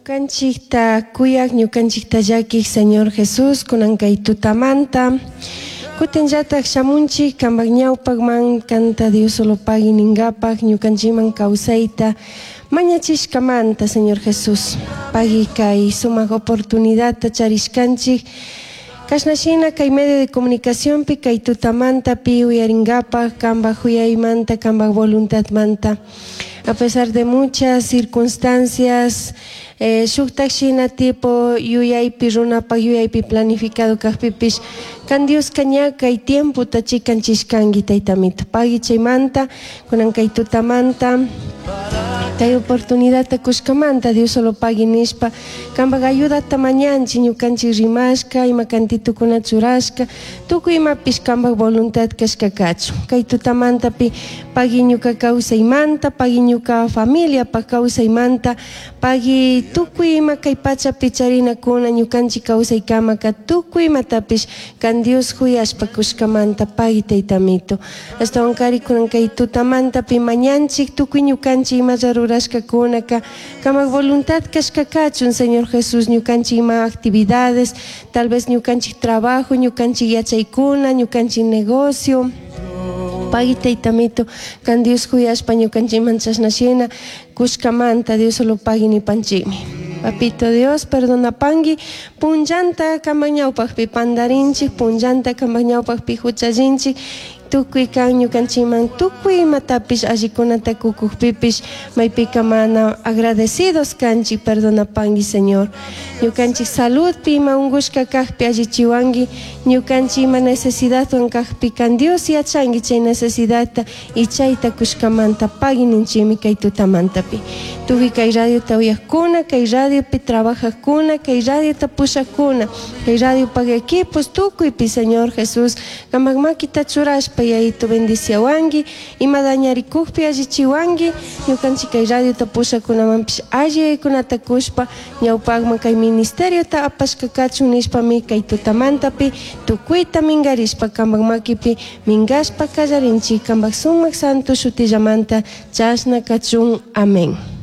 Ñukanchikta kuyak, ñukanchikta llakik Señor Jesús, kunan kay tutamanta. Kutinllatak shamunchik kanpak ñawpakman kanta Dios solo pagui ninkapak ñukanchikman kawsayta mañachishkamanta Señor Jesús. Pagui kay sumak oportunidadta charishkanchik. Kashna shina kay medio de comunicacionpi kay tutamantapi uyarinkapak kanpak huyaymanta, kanpak voluntadmanta. A pesar de muchas circunstancias, shuktak shina tipo yuyaypi runapak yuyaypi planificado kakpipish kan Dioska ña kay tiempota chikanchishkanki taytamito. Pagui chaymanta, kunan kay tutamanta, kay oportunidadta kushkamanta Dios solo pagui nishpa, kanpak ayudata mañanchik ñukanchik rimashka, ima kantitukuna churashka, tukuy imapish kanpak voluntad kashka kachun. Kay tutamantapi pagui ñuka kawsaymanta, pagui ñuka familiapak kawsaymanta, pagui tukuy ima kay pachapi charinakuna ñukanchik kawsaykamaka tukuy imatapish kan Dios huyashpa kushkamanta pagui taytamito. Ashtawankari kunan kay tutamantapi mañanchik tukuy ñukanchik imalla rurashkakunaka kamak voluntad kashka kachun Señor Jesús ñukanchik ima actividades, tal vez ñukanchik trabajo, ñukanchik yachaykuna, ñukanchik negocio. Pagui taytamito, kan Dios huyashpa ñukanchikman chashna shina kushkamanta Dios solo pagui nipanchikmi. Papito Dios, perdonapangui, punllanta kanpak ñawpakpi pandarinchik, punllanta kanpak ñawpakpi huchallinchik, tukuy kan ñukanchikman tukuy imatapish allikunata kukukpipish maypika mana agradecidos kanchik, perdonapangui Señor. Ñukanchik saludpi ima unkushka kakpi allichiwanki, ñukanchik ima necesidadwan kakpi kan Dios yachanki chay necesidadta y chayta kushkamanta pagui ninchikmi kay tutamantapi. Tukuy kay radiota uyakkuna, kay radiopi trabajakkuna, kay radiota pushakkuna, kay radiopak equipos tukuypi Señor Jesús, kanpak makita churashpa yayito bendiciawanki, ima dañarikukpi allichiwanki, ñukanchik kay radiota pushakunamanpish alli yaykunata kushpa ñawpakman kay ministeriota apashka kachun nishpami kay tutamantapi tukuyta minkarishpa kanpak makipi minkashpa kallarinchik kanpak sumak santo shutillamanta chashna kachun. Amén.